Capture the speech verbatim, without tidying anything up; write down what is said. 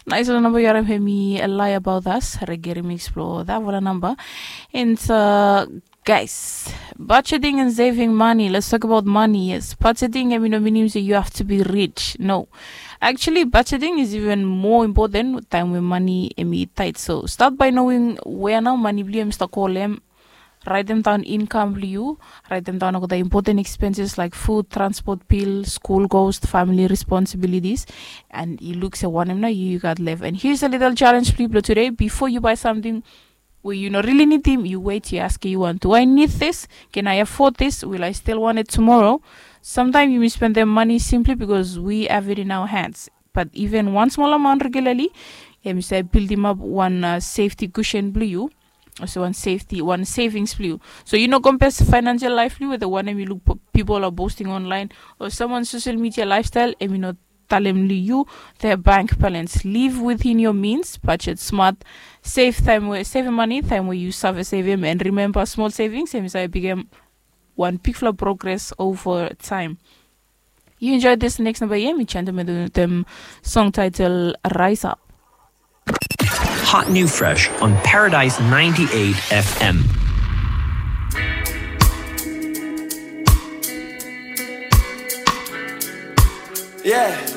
Naisfala namba yu harim hemi Lie About Us, Reggae Remix blo Davula namba. And uh, guys, budgeting and saving money. Let's talk about money. Yes, budgeting hemi no minim se you have to be rich. No. Actually, budgeting is even more important taem we money hemi tight. So start by knowing where nao money blo yu hemi stap go. Raetem daon income blo yu. Raetem daon olgeta important expenses like food, transport bill, school cost, family responsibilities. And yu luk se wanem nao yu gat lef. And here's a little challenge blo yu blo today. Before you buy something we yu no really nidim, yu wet, yu askem yu wan, do I need this? Can I afford this? Will I still want it tomorrow? Sometimes yu misspendem money simply because we have it in our hands. But even wan smol amaon regularly hemi save bildimap wan uh, safety cushion blo yu. Also wan safety, wan savings blo yu. So yu no compare financial life blo yu wetem wanem yu luk pipol are posting online o someone social media lifestyle. Hemi no talem blo yu their bank balance. Live within your means, budget smart, save taem we, save money taem we yu save savem, and remember, smol savings hemi save bigem wan bigfala progress over time. You enjoy this next number here, mi change them with the song title Rise Up. Hot new fresh on Paradise ninety-eight F M. Yeah.